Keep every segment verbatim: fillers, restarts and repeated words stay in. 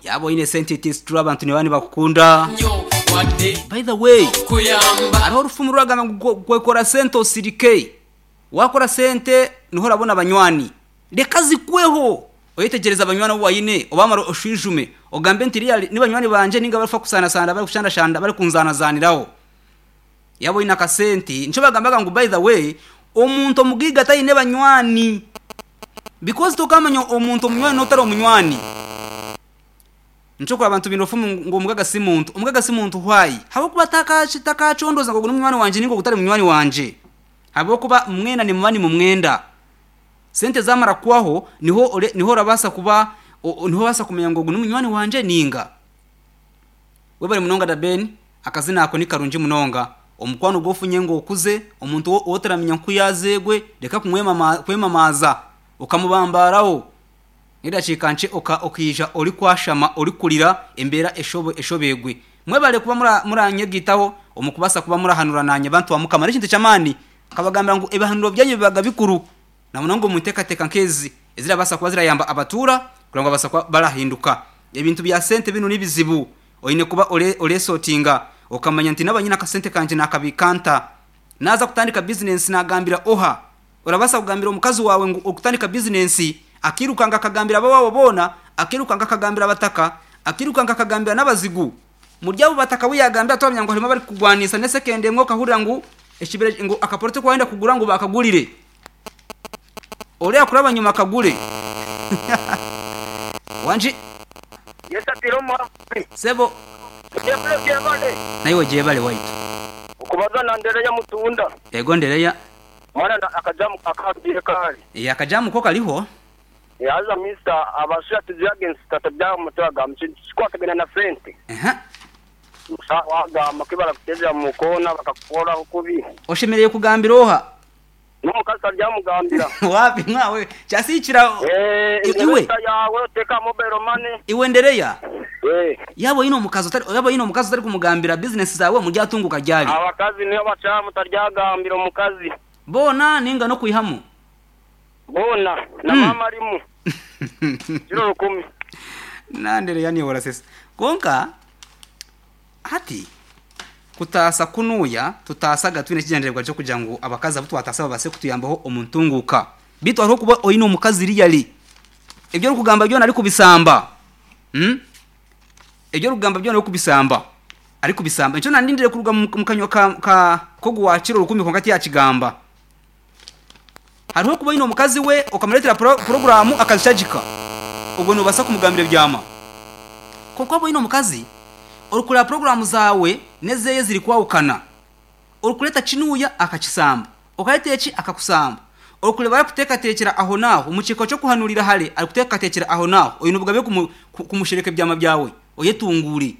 Yaba oyine sente, it is true, abantu niba nibakukunda. By the way, hariho orufumu ruragamba ngu kwekora sente osirike. Wakora sente niho orabona abanywani. Reka zikweho, oyetegereza abanywani abu wayine, obamara oshwijume, ogambe nti really ni banywani banje ninga barifa kusanasana, bari kushandashanda, bari kunzanazaniraho. Yaba oyine akasente, nico bagambaga ngu by the way, omuntu omugiga tayine banywani, because tokamanya omuntu omunywani n'otari omunywani. Nico kura abantu bine orufumu ngu omugaga si muntu. Omugaga si muntu why? Habwokuba takacondoza ngu ogu ni munywani wanje ninga ogu tari munywani wanje, habwokuba mwena nimuba nimumwenda. Sente zamara kubaho niho ore, niho orabasa kuba niho obasa kumenya ngu ogu ni munywani wanje ninga. Webare munonga da Ben, akazina ako ni karungi munonga. Omukwano gwofunye ngu okuze, omuntu otaramenya nku yazegwe, reka kumwemamaza okamubambaraho. Edakiika nkye okija ori kwashama, ori kurira embeera eshobegwe. Mwebare kuba muranyegitaho omu kubasa kuba murahanura nanye bantu ba Mukama. N'ekintu ky'amaani nkabagambira ngu ebihanuro byanyu bibaga bikuru, na munonga omu nteekateeka nk'ezi ezirabasa kuba zirayamba abatuura kugira ngu babasa kuba barahinduka. Ebintu bya sente binu nibizibu, oyine kuba oresotinga okamanya nti naba nyine akasente kangye nakabika nta. Naza kutandika bizinesi nagambira oha? Orabasa kugambira omukazi wawe ngu okutandika bizinesi, akirukanga akagambira abawaabo boona, akirukanga akagambira abataka, akirukanga akagambira n'abazigu. Muri abo bataka abu yagambira twamanya ngu harimu abarikugwanisa n'esekende emwe, okahurira ngu ekibira ngu akaporoto aku wayenda kugura ngu bakagurire. Oriya kuraba nyuma akagure. Wangi. Yesu atiire omuhabuzi. Sebo. Gyebale gyebale. Naiwe gyebale waitu. Okubaza na Ndereya Mutunda. Ego Ndereya. Mwana akajamu akagiire kari. Ee, akajamu ko kariho. Haza mister abashaija tizyaga ensita tabyaha omu mutwe agamba kintu kikwatagaine na sente. Aha. Wagamba ku barakutezera omu koona bakakukoraho kubi. Oshemereire kugambira oha? N'omukazi taryamugambira. Wapi mwawe kyasikira. Eh, iwe ensita yawe oteka mobile money. Iwe Ndereya. Eh. Yaba oyine omukazi otari, yaba oyine omukazi otari kumugambira business zawe muryatunguka ryari? Abakazi nibo bakyamu taryagambira omukazi. Boona ninga n'okwihamu? Boona na Mm. maama arimu. Kiro rukumi. Na Ndereya niiwe orasesa. Kwonka hati kutaasa kunuuya tutaasaga twine ekigyendererwa ky'okugira ngu abakazi abu twataasa babaase kutuyambaho omu ntunguuka. Beitu hariho kuba oyine omukazi really ebi orikugamba byona arikubisamba. Mm? Ebi orikugamba byona arikubisamba. Arikubisamba. Nikyo nandindire kuruga mu kanywa ka, ka k'ogu waakira orukumi kwonka tiyakigamba. Hariho kuba oyine omukazi we okamureetera pro, puroguraamu akazishagika. Obwo noobaasa kumugambira ebyama. Kwonka waaba oyine omukazi orikureeba puroguraamu zaawe n'ezeeye zirikwahukana. Orikureeta kinuuya akakisamba, okareeta eki akakusamba. Orikureeba arikuteekateekyera aho n'aho, omu kiiko ky'okuhanurira hare arikuteekateekyera aho n'aho. Oyine obugabe kumu, kumushereka ebyama byawe, oyetunguure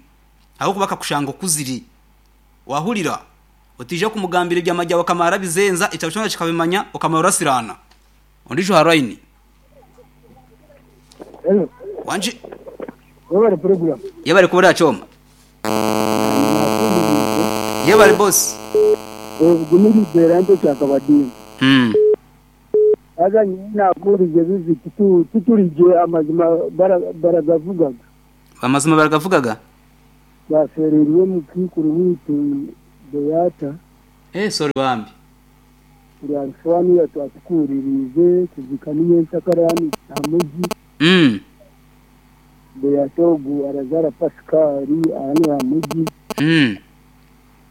ahabw'okuba akakushanga okuzire. Waahurira? Otaija kumugambira ebyama byawe akamara arabizenza, ekyaro kyona kikabimanya, okamara orasiraana. Ondiijo aha line. Hello. Wangi. Webale program. Yebare kuba orakyoma. Yebare boss. Ogu ni Libera Mpekya Kabadinga. Mm. Haza nyowe nakuhurize bibi titu titurigye amazima bara baragavugaga. Amazima baragavugaga? Bafereirwe omukiikuru waitu Beata. Eh, sorry bambi. Turi twatukuuririize kuzika ninyenkyakare hanu aha muji. Mm. Beata ogu arazaara Pascal hanu aha muji. Mm.